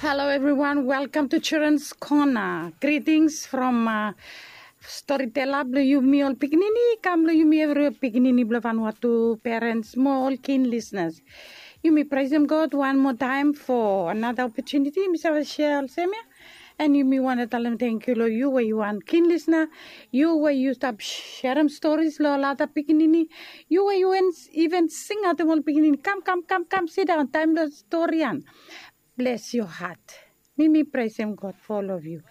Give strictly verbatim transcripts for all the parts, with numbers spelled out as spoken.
Hello everyone, welcome to Children's Corner. Greetings from uh, storyteller blong yumi ol pikinini, kam blong yumi evriwea pikinini blong Vanuatu, parents mo ol keen listeners. Yumi praisem God wan moa taem for another opportunity. Mi save share olsem ia. And yumi wantem talem tangkiu long yu we yu wan keen listener, yu we yu stap sharing stories long ol other pikinini, yu we yu even sing atem ol pikinini, kam kam kam kam sidaon, taem blong story ia. Bless your heart. Mi mi praisem God for all of you.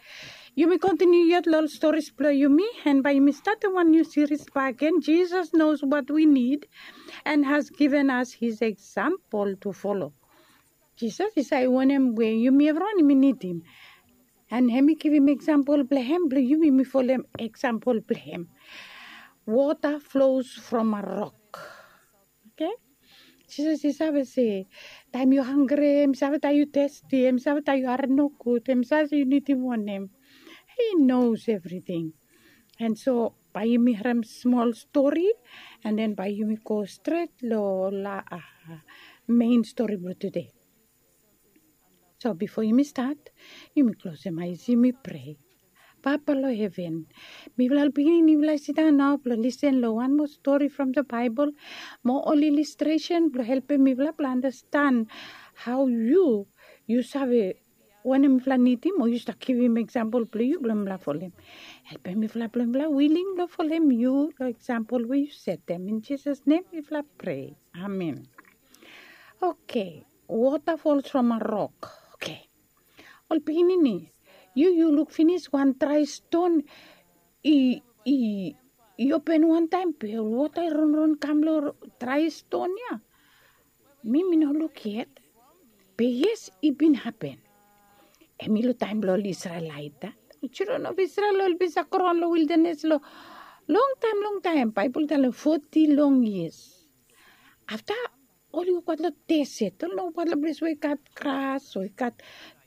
Yumi kontiniu yet long ol stories blong yumi, and bae yumi statem wan niu series bakegen, Jesus knows what we need and has given us his example to follow. Jisas i save wanem we yumi evriwan yumi nidim. And hem i givim example blong hem blong yumi mi folem example blong hem. Water flows from a rock. Okay? Jisas i save se, taem yu hangre, hem i save taem yu testi, hem i save taem yu harem nogud, hem i save se yu nidim wanem. He knows everything. And so bae yumi harem smol stori, and then bae yumi go stret long la uh, main stori blong tude. So bifo yumi stat, yumi klosem ae, yumi prea. Papa long heven, mifala ol pikinini mifala i sidaon nao blong lisen long wan moa stori from the Bible, mo ol illustration blong helpem mifala blong understand hao yu, yu save wanem mifala nidim, o yu stap givim example blong yu blong mifala folem. Helpem mifala blong mifala willing blong folem yu long example we yu setem. In Jisas nem mifala prea. Amen. Okay. Water falls from a rock. Okay. Ol pikinini, yu yu luk finis wan drae ston i i i open wantaem, be ol wota i ronron kam long drae ston ia. Mi mi no luk yet. Be yes, i bin hapen. Hem i long taem blong ol Isrelaet ia. Children of Israel oli bin save graon long wildanes long longtaem longtaem, Baebol i talem foti long yias. Afta oli wokbaot long deset, oli no wokbaot long ples we i gat gras o i gat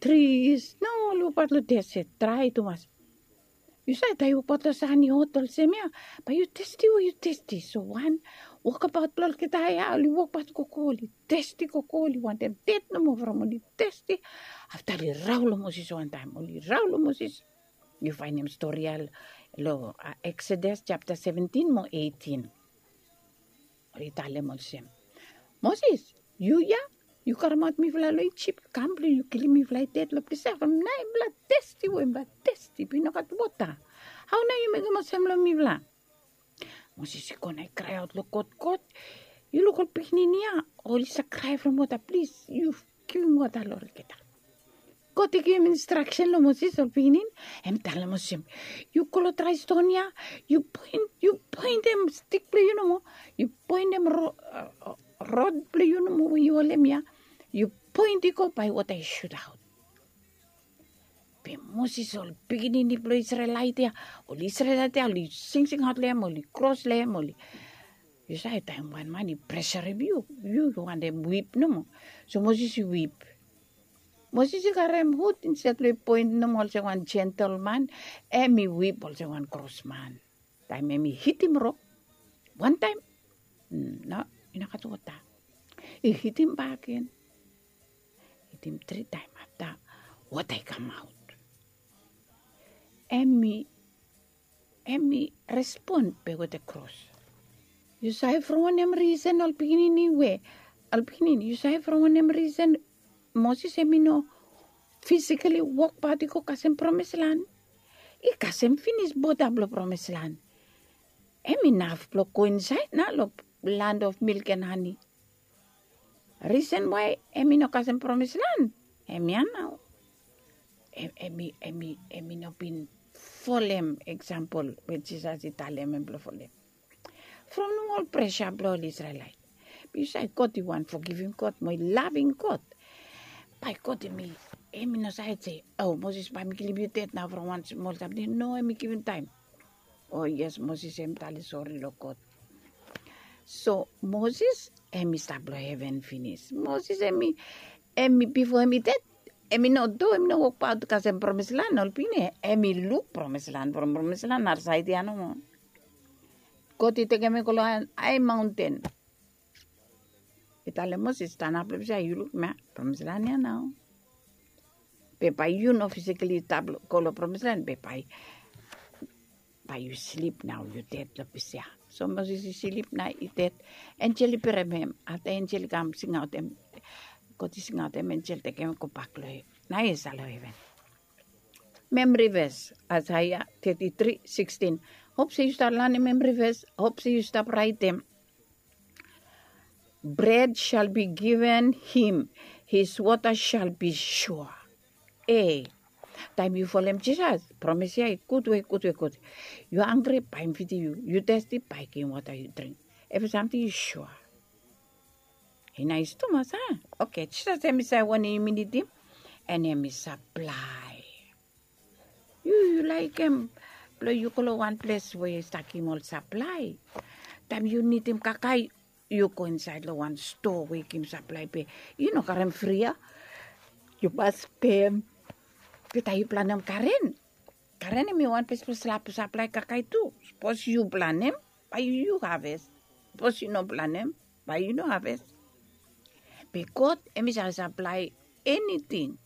tris. No, oli wokbaot long deset, drae tumas. Yu save taem yu wokbaot long san i hot olsem ia, bae yu testi we yu testi. So wan wokbaot blong olgeta ia, oli wokbaot gogo, oli testi gogo, oli wantem ded nomo from oli testi. Afta oli rao long Moses wantaem, oli rao long Moses. Yu faenem stori ia long Exodus japta seventin mo eitin. Oli talem olsem, Moses, yu ia, yu karemaot mifala long Ijip kam blong yu kilim mifala i ded long ples ia from nae mifala testi we mifala testi be i no gat wota. Hao nao yu mekem olsem long mifala? Moses i go na i kraeaot long God, God, yu luk ol pikinini ia, oli save krae from wota, plis yu givim wota long olgeta. God i givim instraksen long Moses, ol pikinini, hem i talem olsem, yu go long drae ston ia, yu poen, yu poentem stik blong yu nomo, yu poentem rod blong yu nomo we yu holem ia, yu poen i go, bae wota i sutaot. Be Moses, ol pikinini blong Isrelaet ia, ol Isrelaet ia oli singsingaot long hem, oli kros long hem, oli, yu save taem wan man i presarem yu, yu yu wantem wip nomo. So Moses i wip. Moses i karem hud, instead blong i poen nomo olsem wan jentel man, hem i wip olsem wan kros man. Taem hem i hitim rok wantaem, no, i no gat wota. I hitim bakegen. Hitim tri taem, afta wota i kamaot. Hem i, hem i respon be wetem kros. Yu save from wanem risen, ol pikinini, we, ol pikinini, yu save from wanem risen Moses hem i no fisikali wokbaot i go kasem promis lan? I kasem finis boda blong promis lan. Hem inaf blong go insaed nao long land of milk and honey. Risen wae hem i no kasem promis lan, hemia nao. Hem i, hem i, hem i no bin folem eksampol we Jisas i talem hem blong folem. From nomo ol presa blong ol Isrelaet. Be yu save God i wan fogivim God mo i laving God. Bae God hem i, hem i no save se, o Moses, bae mi kilim yu ded nao from wan smol samting. No, hem i givim taem. O yes, Moses hem i talem sori long God. So Moses hem i stap long heven finis. Moses hem i, hem i, bifo hem i ded, hem i no do, hem i no wokbaot kasem promis lan, ol pikinini, hem i luk promis lan from promis lan narasaed ia nomo. God i tekem hem i go long hae maonten. I talem Moses, stanap long ples ia, yu luk hemia, promis lan ia nao. Be bae yu no fisikali stap go long promis lan be bae bae yu slip nao yu ded long ples ya. So moses i slip na i ded. Enjel i berem hem afta enjel i kam singaotem god i singaotem enjel tekem gobak long hem. Nao i save long heven. Memri ves, asaia teti tri sikstin. Hop se yu stap lanem memri ves, hop se yu stap raetem. Bred shal bi given him, his wota shal bi sua. E taem yu folem jisas promis ya i gud we gud we gud. Yu hangre bae mi fidim yu, yu testi bae givim wota yu dring. Evri samting i sua. I nais tumas a. Oke jisas em i save wanem yumi nidim. En em i saplae. Yu yu laekem blong yu go long wan ples we i stap givim ol saplae. Taem yu nidim kakae yu go insaed long wan stoa we i givim saplae be yu no karem fri ya. Yu mas pem. Be taem yu planem karen, karen em i wan ples blong slap saplae kakae tu. Sapos yu planem bae yu haves. Sapos yu no planem bae yu no haves. Be god em i save saplae eniting.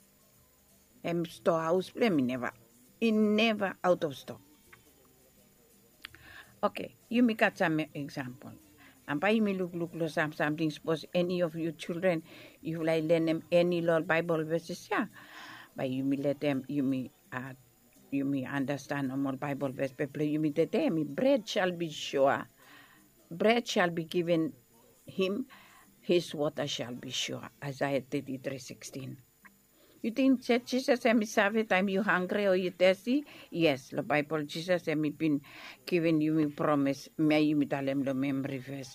Em stoa haos blong em i neva i neva aot of stok. Oke, yumi gat sam eksampol. Am bae yumi lukluk long sam samting sapos eni of yu jildren yufala i lenem eni long ol baebol veses ya, bae yumi letem yumi a yumi andastan ol baebol ves be blong yumi tede em i bred shal bi sua. Bred shal bi given him, his wota shal bi sua. Asaia teti tri sikstin. Yu ting se jisas em i save taem yu hangre o yu testi? Yes long baebol jisas em i bin givim yumi promis me yumi talem long memri ves.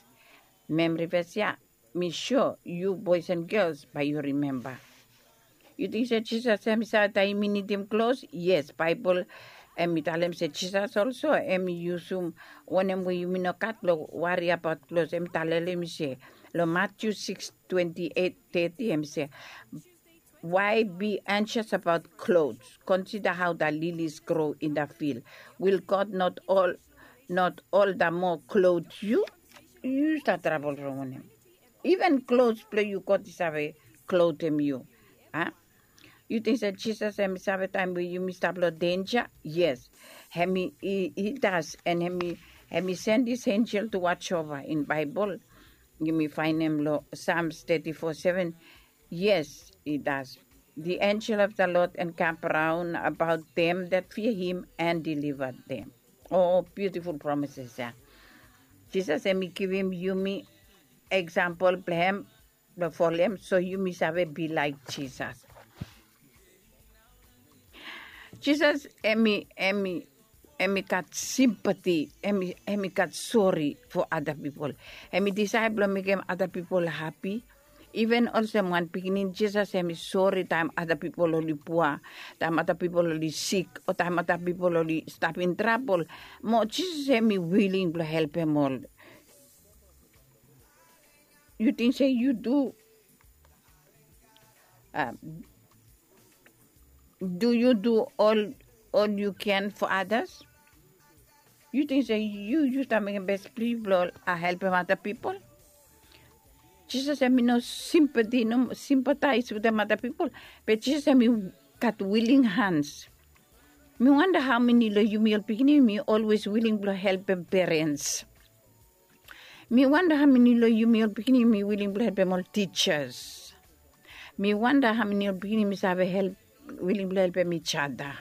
Memri ves ya mi sua yu boes en gels bae yu rimemba. Yu ting se jisas em i save taem yumi nidim klos? Yes baebol em i talem se jisas olso em i yusum wanem we yumi no gat blong wari abaot klos em i talele yumi se long matiu siks twenti eit teti em i se, why be anxious about clothes? Consider how the lilies grow in the field. Will god not all not all the more clothe you? Yu stap trabol from wanem? Even klos blong yu god i save klotem yu. A yu ting se jisas em i save taem we yumi stap long denja? Yes. Em i das en em i send dis enjel tu wachova in baebol. Yumi faenem long sams teti fo seven. Yes i das. Di enjel of da lod en kam braon abaot dem dat fia him en diliva dem. O biutiful promises ya. Jisas em i givim yumi eksampol blong hem blong folem so yumi save bi laik jisas. Jisas em i em i em i gat simpati em i em i gat sori fo ada pipol. Em i disaed blong mekem ada pipol hapi. Iven olsem wan pikinini jisas em i sori taem ada pipol oli pua, taem ada pipol oli sik o taem ada pipol oli stap in trabol. Mo jisas em i wiling blong helpem ol. Yu ting se yu du du yu du ol ol yu ken fo adas? Yu ting se yu yu stap mekem bes pli blong helpem ada pipol? Jisas em i no simpati no simpataes wetem ada pipol. Be jisas em i gat wiling hans. Mi wanda hau meni long yumi ol pikinini yumi olwes wiling blong helpem perens. Mi wanda hau meni long yumi ol pikinini yumi wiling blong helpem ol tijas. Mi wanda hau meni ol pikinini yumi save help wiling blong helpem ijada.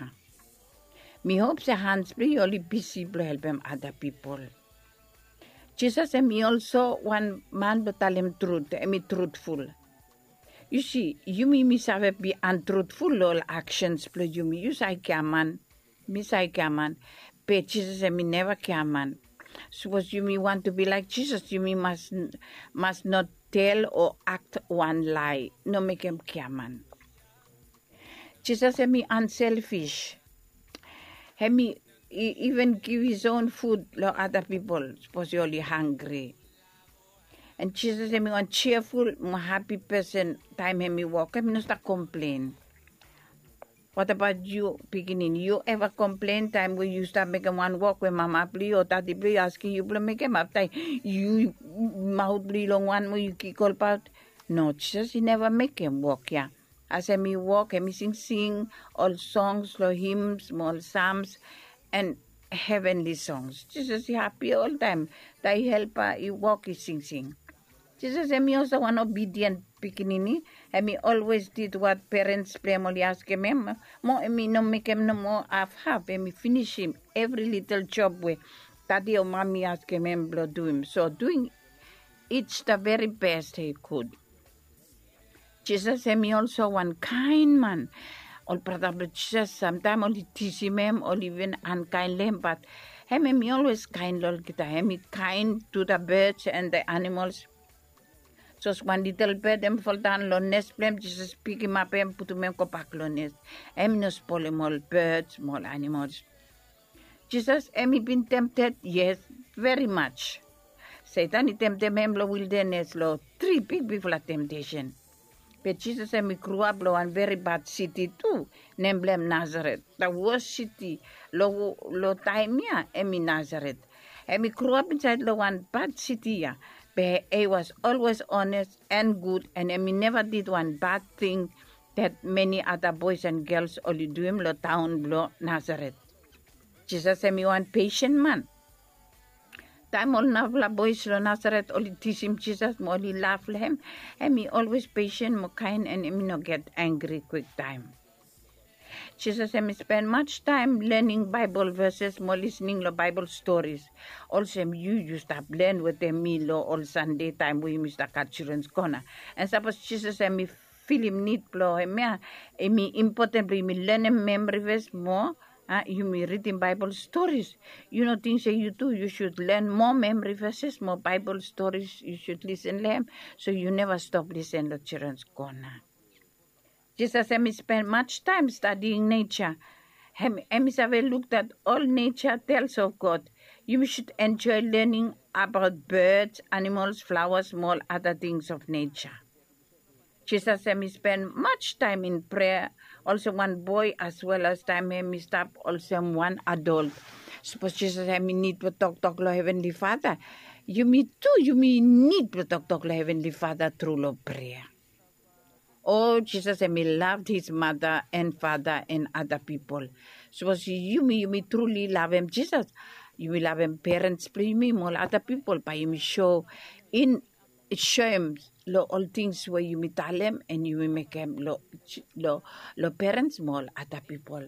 Mi hop se hans blong yu oli bisi blong helpem ada pipol. Jisas em i olso wan man blong talem trut em i trutful. Yu si yumi mi save bi antrutful long ol aksens blong yumi yu save giaman. Mi save giaman. Be jisas em i neva giaman. Sapos yumi wantu bi laik jisas yumi mas mas no tel o akt wan lae no mekem giaman. Jisas em i anselfis. Em i even giv his on fud long ada pipol sapos yu oli hanggri. An jisas em i wan jiaful mo hapi pesen taem em i wok em i no stap komplen. Watabaot yu pikinini yu eva komplen taem we yu stap mekem wan wok we mama blong yu o dadi blong yu askim yu blong mekem afta yu maot blong yu long wan mo yu kik olbaot? No jisas i neva mekem wok ya. As hem i wok hem i singsing ol songs long hims mo ol sams, en hevenli songs. Jisas i hapi oltaem taem helpa i wok i singsing. Jisas hem i olsem wan obidien pikinini. Hem i olwes did wat perens blong hem oli askem hem, mo hem i no mekem nomo hafhaf. Hem i finisim evri litel job we dadi o mami i askem hem blong duim. So duing its da veri bes he gud. Jisas hem i olso wan kaen man. Ol brata blong Jisas samtaem oli tisim hem, oli iven ankaen long hem, bat hem hem i olwes kaen long olgeta. Hem i kaen tu da beds en da animols. Sapos wan litel bed hem foldaon long nes blong hem, Jisas pikimap hem, putum hem gobak long nes. Hem i no spolem ol beds mo ol animols. Jisas hem i bin temted, yes, veri maj. Setan i temtem hem long wildanes long tri bigbigfala temtesen. Be Jisas hem i groap long wan veri bad siti tu, nem blong hem Nasaret. Da wos siti long taem ya hem i Nasaret. Hem i groap insaed long wan bad siti ya, be he was olwes ones en gud, en hem i neva did wan bad ting dat meni ada boes en gels oli duim long taon blong Nasaret. Jisas hem i wan pesen man. Taem ol narafala boes long Nasaret oli tisim Jisas mo oli laf long hem, hem i olwes pesen mo kaen en hem i no get angri kwiktaem. Jisas hem i spen maj taem lening Baebol veses mo lisning long Baebol storis. Olsem yu yu stap len wetem mi long ol Sande taem we yumi stap gat Children's Corner. En sapos Jisas hem i filim nid blong hem ya, hem i impoten blong yumi lenem memri ves mo, a, yumi ridim Baebol storis. Yu no ting se yu tu yu sud len moa memri veses mo Baebol storis yu sud lisen long hem, so yu neva stop lisen long Children's Corner. Jisas hem i spen maj taem stadiing neja. Hem hem i save luk dat ol neja tels of God. Yumi sud enjoe lening abaot beds, animols, flawas mo ol ada tings of neja. Jisas hem i spen maj taem in prea olsem wan boe, as wel as taem hem i stap olsem wan adol. Sapos Jisas hem i nid blong toktok long Hevenli Fada, yumi tu yumi nid blong toktok long Hevenli Fada tru long prea. O Jisas hem i lav his mada en fada en ada pipol. Sapos yumi yumi truli lavem Jisas, yumi lavem perens blong yumi mo ol ada pipol, bae yumi so in soem long ol tings we yumi talem en yumi mekem long perens mo ol ada pipol.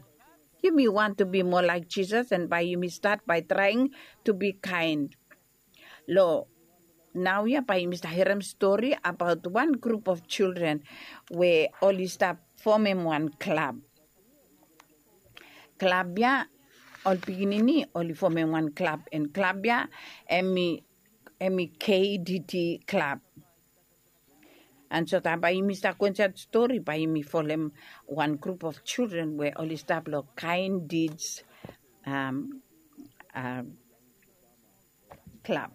Yumi want to be more like Jisas, en bae yumi stat bae traing to be kind. Long naoia bae yumi stap harem stori abaot wan grup of children we oli stap fomem wan klab. Klab ya, ol pikinini oli fomem wan klab, en klab ya hem i K D T klab. And so taem bae yumi stap go insaed stori bae yumi folem wan grup of children we oli stap long kaen dids klab.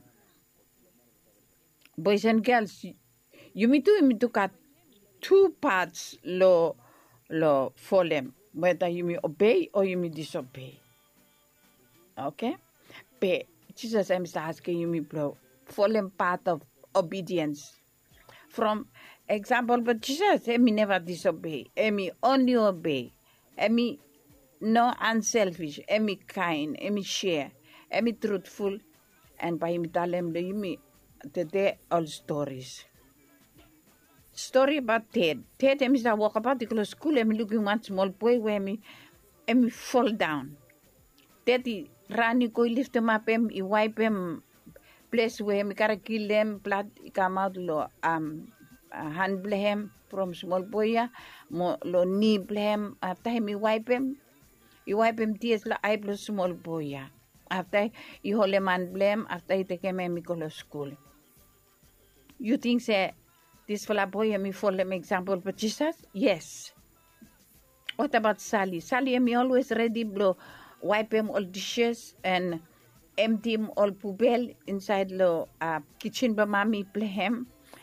Boes en gels, yumi tu yumi tu gat tu pats long folem, weda yumi obei o yumi disobei. Oke. Be Jisas hem i stap askem yumi blong folem pat of obidiens. From eksampol blong Jisas, hem i neva disobei, hem i onli obei. Hem i no anselfis, hem i kaen, hem i sea, hem i trutful. En bae yumi talem long yumi tede ol storis. Stori abaot ded. Ded hem i stap wokabaot i go long skul, hem i lukim wan smol boe we hem i foldaon. Ded i ran i go i liftemap hem, i waepem ples we hem i kare kilim, blad i kamaot long han blong hem from smol boe ya mo long ni blong hem. Afta hem i waepem, i waepem tias long ae blong smol boe ya. Afta i holem han blong hem, afta i tekem hem i go long skul. Yu ting se disfala boe hem i folem eksampol blong Jisas? Yes. Watabaot Sali? Sali hem i olwes redi blong waepem ol dishes en emtim ol pubel insaed long kisen blong mami blong hem,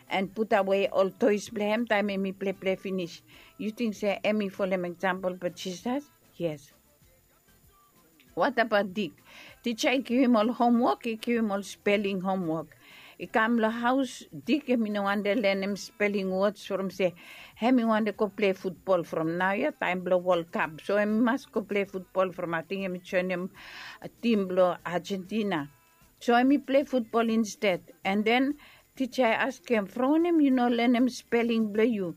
en putawe ol toes blong hem taem hem i pleple finis. Yu ting se hem i folem eksampol blong Jisas? Yes. Watabaot Dik? Tija i givim ol homwok, i givim ol speling homwok. I kam long haos, Dik hem i no wantem lenem spelling words from se hem i wantem go pilai futbol from naoia taem blong World Cup. So hem i mas go pilai futbol from ating hem i joenem tim blong Argentina. So hem i pilai futbol insted. And then tija i askem, from wanem yu no lenem spelling blong yu?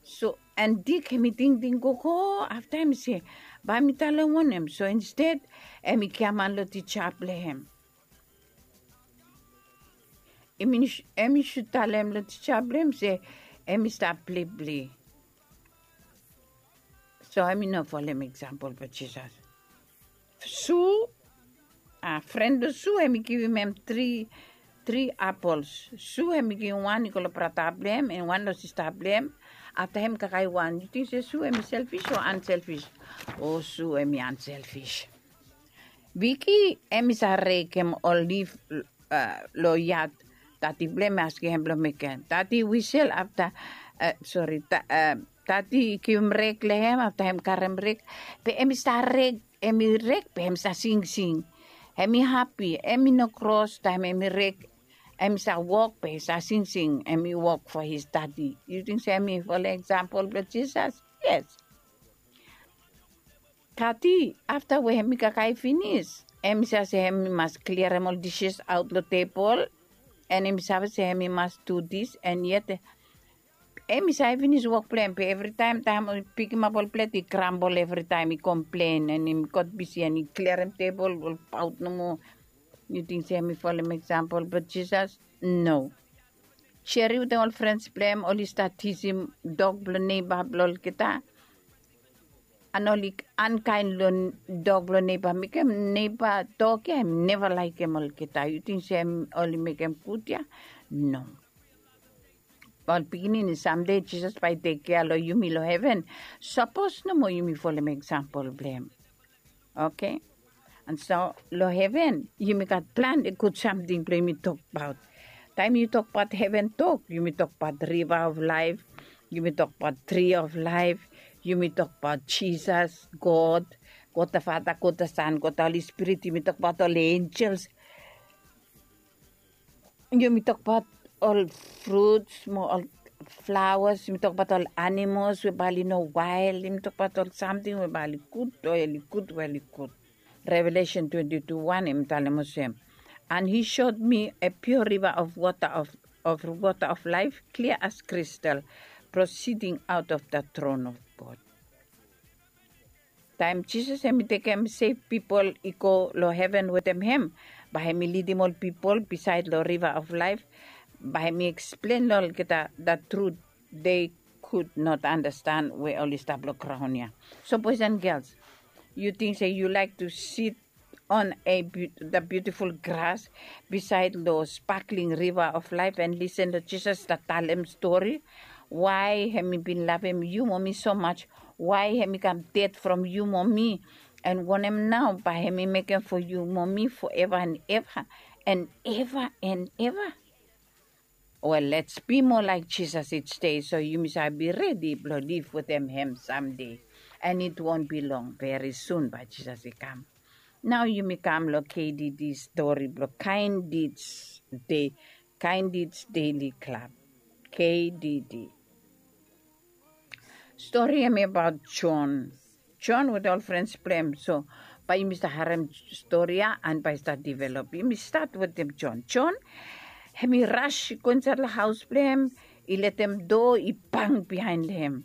So and Dik hem i tingting gogo afta hem i se, bae mi talem wanem? So insted hem i giaman long tija blong hem. Hem i shu talem long tija blong hem se hem i stap blibli. So hem i no folem eksampol blong Jisas. Su, a, fren blong Su hem i givim hem tri, tri apols. Su hem i givim wan i go long brata blong hem, en wan long sista blong hem. Afta hem i kakae wan. Yu ting se Su hem i selfis o anselfis? O, Su hem i anselfis. Viki hem i save rekem ol lif long yad. Dadi blong hem i askem hem blong mekem. Dadi wisel afta, sori, dadi i givim rek long hem, afta hem karem rek. Be hem i stap rek, hem i rek be hem i stap singsing. Hem i hapi, hem i no kros taem hem i rek. Hem i stap wok be hem i stap singsing, hem i wok fo his dadi. Yu ting se hem i folem eksampol blong Jisas? Yes. Kati, afta we hem i kakae finis, hem i save se hem i mas kliarem ol disis aot long tebol, en hem i save se hem i mas du dis, en yet hem i save finis wok blong hem. Be evritaem taem i pikimap ol plet i grambol, evritaem i komplen, en hem i gat bisi en i kliarem tebol, ol paot nomo. Yu ting se hem i folem eksampol blong Jisas? No. Jeri wetem ol frens blong hem oli stap tisim dog blong neiba blong olgeta. An oli ankaen long dog blong neiba, mekem neiba dog ya hem i neva laekem olgeta. Yu ting se hem oli mekem gud ya? No. Ol pikinini, samdei Jisas bae i tekea long yumi long heven. Sapos nomo yumi folem eksampol blong hem. Oke. An so long heven yumi gat plante gud samting blong yumi tokbaot. Taem yu tokbaot heven tok, yumi tokbaot riva of laef, yumi tokbaot tri of laef, yumi tokbaot Jisas, God, God the Father, God the Son, God the Holy Spirit, yumi tokbaot ol enjels. Yumi tokbaot ol fruts mo ol flawas, yumi tokbaot ol animols we bae oli no wael, yumi tokbaot ol samting we bae oli gud, we oli gud, we oli gud. Revelation twenty-two one hem i talem olsem, and he showed me a pure river of water of, of water of life, clear as crystal, proceeding out of the throne of God. Taem Jisas hem i tekem sef pipol i go long heven wetem hem, bae hem i lidim ol pipol bisaed long riva of laef, bae hem i eksplen long olgeta the truth they could not understand we oli stap long graon ya. So boys and girls, yu ting se yu laek tu sit on a beau-, the beautiful grass bisaed long sparkling river of laef and lisen long Jisas stap talem stori? Wae hem i bin lavem yu mo mi so much? Wae hem i kam ded from yu mo mi? An wanem nao bae hem i mekem fo yu mo mi foeva an eva an eva an eva? Wel, let's be more like Jesus each day, so yumi save be redi blong liv wetem hem samdei. And it won't be long, veri sun bae Jisas i kam. Nao yumi kam long K D D stori blong Kain Deeds Dei-, Kain Deeds Daily Club. K D D. Stori hem i abaot Jon. Jon wetem ol frens blong hem. So bae yumi stap harem stori ya an bae i stap develop. Yumi stat wetem Jon. Jon hem i ras i go insaed long haos blong hem, i letem doa i bang biaen long hem.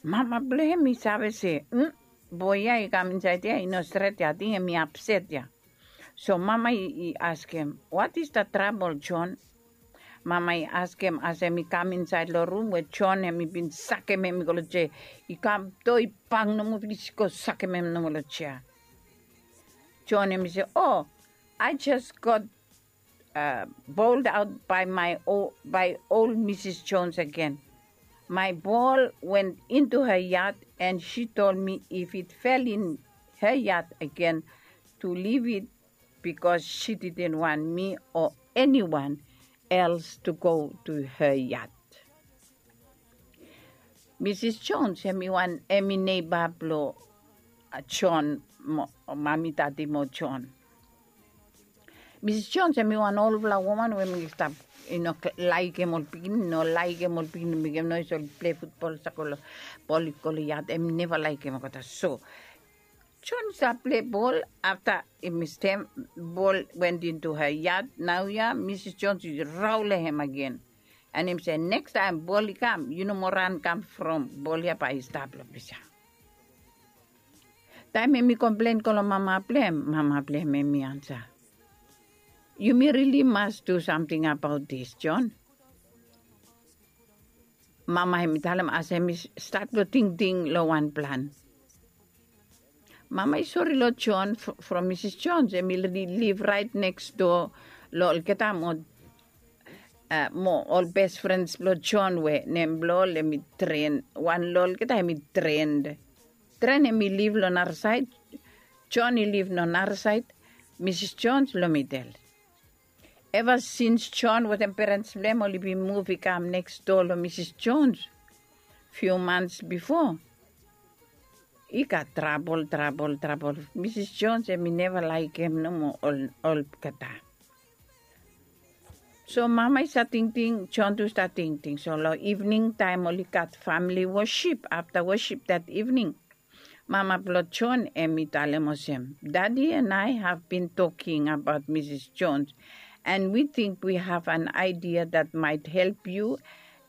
Mama blong hem i save se, "Hm, boe ya i kam insaed ya i no stret ya, ating hem i apset ya." So mama i, i askem, "What is the trouble, Jon?" Mama i askem as hem i kam insaed long rum we Jon hem i bin sakem hem i go long jea. I kam doa i bang nomo finis i go sakem hem nomo long jea. Jon hem i se, "Oh, I just got, uh, bowled out by my o-, by old Missus Jones again. My ball went into her yard and she told me if it fell in her yard again to leave it because she didn't want me or anyone else to go to her yard." Missus Jones hem i wan, hem i neiba blong, uh, Jon mo, mami dadi mo Jon. Misis Jones hemi wan olfala woman we mi stap i no laekem ol pikinini, no laekem ol pikinini mekem noes, oli pilei futbol, sako long bol, i go long yad, hemi neva laekem olgeta. So John i stap pilei bol, afta i mistem, bol went into her yard. Naoia Misis Jones i raolem hem agen. And hemi se nekstaem bol i kam, yu no moa ran kam from bol ya, bae i stap long ples ya. Taem hemi komplen go long mama blong hem, mama blong hem hemi ansa, yumi rili mas du samting abaot dis, John. Mama hemi talem as hemi stat blong tingting long wan plan. Mama i sori long John from Misis Jones, hemi liv raet neks doa long olgeta mo, mo ol bes frens blong John we nem blong ol hemi Tren. Wan long olgeta hemi Tren. Tren hemi liv long narasaed, John i liv long narasaed, Misis Jones long midel. Eva sins John wetem perens blong hem oli bin muv i kam neks doa long Misis Jones fiu mans bifo, i gat trabol, trabol, trabol. Misis Jones hemi neva laekem nomo olgeta. So mama i stat tingting, John tu stat tingting. So long ivning taem oli gat famili wosip, afta wosip dat ivning, mama blong John hemi talem olsem, Daddy and I have been talking about Misis Jones, and we think we have an idea that might help you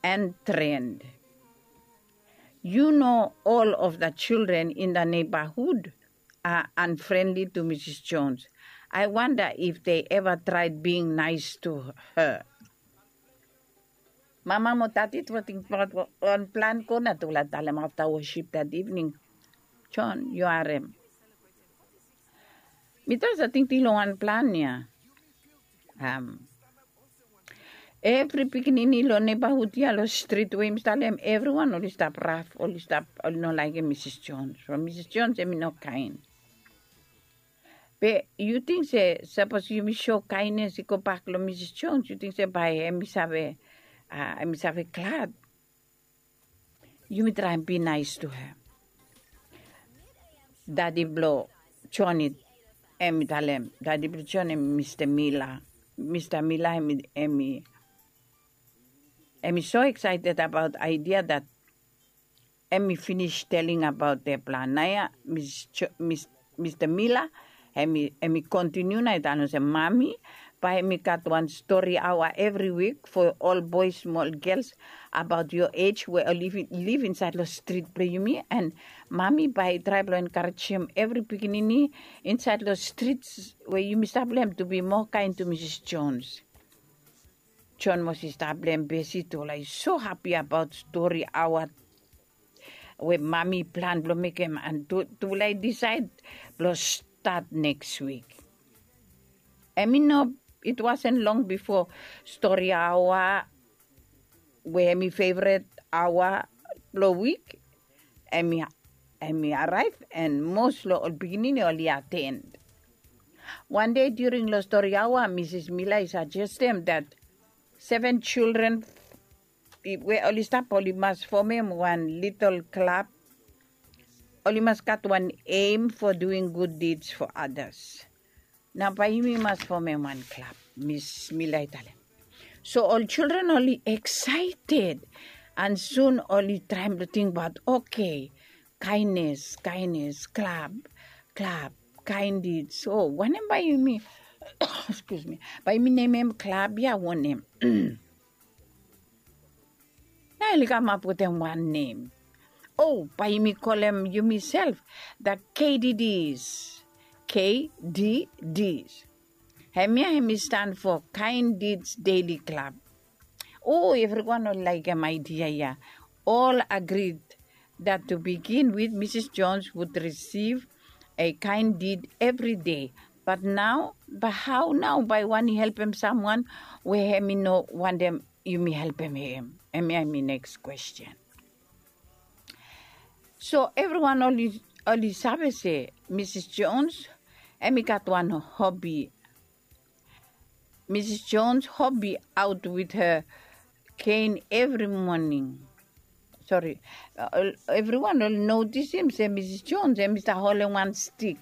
and Trent. You know, all of the children in the neighborhood are unfriendly to Misis Jones. I wonder if they ever tried being nice to her. Mama mo dadi tu tingbaot wan plan go na tufala talem afta wosip dat ivning. John, yu harem. Mi tu save tingting long wan plan ya. Evri pikinini long neibahud ya long strit we yumi talem, evriwan oli stap raf, oli stap, oli no laekem Misis Jones. From Misis Jones hemi no kaen. Be yu ting se sapos yumi so kaenes i gobak long Misis Jones, yu ting se bae hemi save, hemi save glad? Yumi traem bi naes tu hem. Dadi blong John i, hemi talem, dadi blong John hemi Mista Mila. Mista Mila hemi, hemi, hemi so eksaeted abaot aidia dat hemi finis teling abaot de plan. Naoia Mista Mila hemi, hemi kontiniu nao i talem olsem, Mami, bae hemi gat wan stori aoa evri wik fo ol boes mo ol gels abaot yo ej we oli liv insaed long strit blong yumi. And Mami bae i trae blong enkarejem evri pikinini insaed long strit we yumi stap long hem tu bi moa kaen tu Misis Jones. John Moses Tablem Besi tufala i so hapi abaot stori aoa we Mami i plan blong mekem, and tufala i disaed blong stat neks wik. Hemi no, it wasn't long bifo stori aoa we hemi fevret aoa blong wik hemi, hemi araev, and mos long ol pikinini oli aten. Wan dei during long stori aoa, Misis Mila i sajestem dat seven children we oli stap oli mas fomem wan litol klab. Oli mas gat wan aim for doing good deeds for others. Nao bae yumi mas fomem wan klab, Mis Mila i talem. So ol children oli eksaeted, and sun oli traem blong tingbaot, oke, kaenes, kaenes, klab, klab, kaen did. So wanem bae yumi, excuse me, bae yumi nemem klab ya wanem? Nao oli kamap wetem wan nem. O, bae yumi kolem yumiself the K D Ds. K D Ds. Hemia hemi stan fo Kaen Dids Deli Klab. O, evriwan oli laekem aidia ya. Ol agrid that to begin with Misis Jones would receive a kind deed evri dei. Bat nao, bae hao nao bae wan i helpem samwan we hemi no wantem yumi helpem hem? Hemia hemi neks kwesten. So evriwan oli, oli save se Misis Jones hemi gat wan hobi. Misis Jones hobi aot with her cane evri moning. Sori, evriwan oli notisim se Misis Jones hemi stap holem wan stik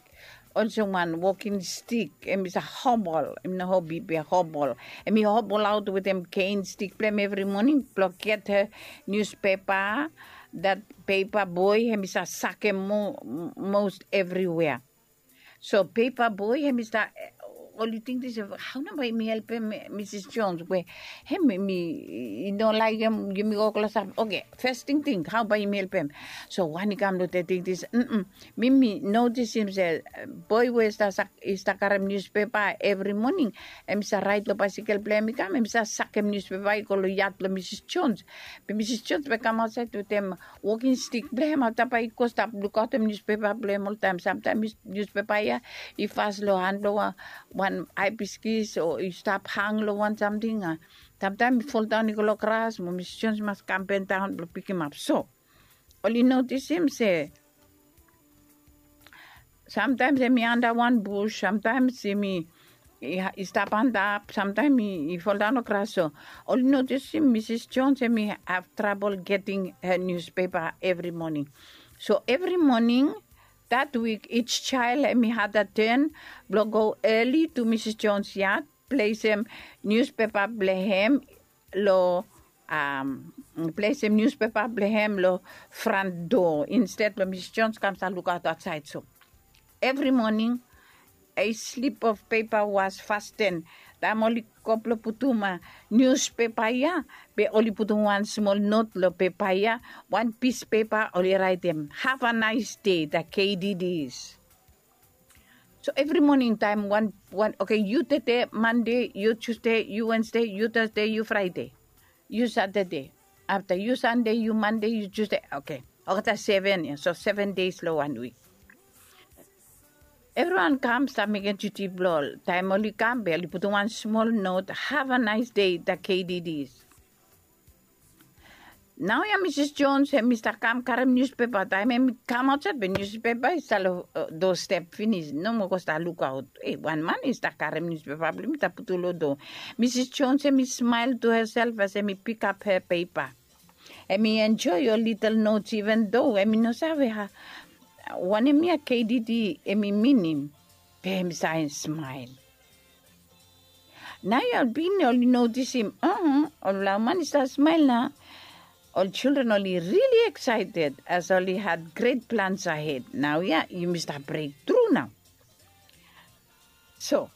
olsem wan wokin stik, em i sa hobol, em no hobi be hobol. Em i hobol aut wetem kein stik blong hem evri moning blong get her niuspepa. Dat pepa boe em i sa sakem mos evriwea. So pepa boe em i sa, oli ting dis, hau nao bae yumi helpem Misis Jones we em i no laekem yumi go klosap? Oke, fes tingting, hau bae yumi helpem? So wan i kam long tingting dis, mi mi notisim se boe we i stap karem niuspepa evri moning, em i sa raet long baesekel blong hem i kam, em i sa sakem niuspepa i go long yat blong Misis Jones. Be Misis Jones bae kam aotsaed wetem wokin stik blong hem, afta bae i go stap lukaotem niuspepa blong hem oltaem. Samtaem niuspepa ya i fas long han blong wan aibiskis o i stap hang long wan samting. Samtaem i foldaon i go long gras mo Misis Jones i mas kam bendaon blong pikimap. So oli notisim se samtaem em i anda wan bus, samtaem em i stap antap, samtaem i foldaon long gras. So oli notisim Misis Jones em i have trabol geting her niuspepa evri moning. So evri moning dat wik, each jael em i had a ten blong go eli to Misis Jones yat, plesem niuspepa blong hem long, plesem niuspepa blong hem long fran doa insted blong Misis Jones kam stap lukaot aotsaed. So evri moning a slip of pepa was fasten. Taem oli go blong putum niuspepa ya, be oli putum wan smol not long pepa ya, wan pis pepa oli raetem, "Have a nice day, the K D Ds." So evri moning taem wan, wan, oke, yu tede Mande, yu Tusde, yu Wensde, yu Tasde, yu Fraede, yu Satade, afta yu Sande, yu Mande, yu Tusde. Oke, olgeta seven ya, so seven des long wan wik. Evriwan kam stap mekem duti blong ol. Taem oli kam be oli putum wan smol not, "Have a nice day, the K D Ds." Naoia Misis Jones em i stap kam karem niuspepa. Taem em i kam aotsaed be niuspepa i stap long doa step finis. No moa go stap lukaot. E, wan man i stap karem niuspepa blong hem i stap putum long doa. Misis Jones em i smael to hesel as em i pikap her pepa. Em i enjoe ol litel notes, iven doa em i no save wanem ya K D D em i minim. Be em i save smael. Naoia ol pikinini oli notisim, ol laman i stap smael nao. Ol jildren oli rili eksaeted as oli had gret plans ahed. Naoia yumi stap brektru nao. So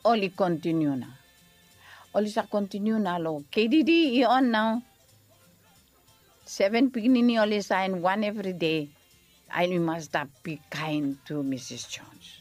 oli kontiniu nao. Oli save kontiniu nao long K D D i on nao. Seven pikinini oli saen wan evri dei. Ae yumi mas stap bikaen tu Misis Jones.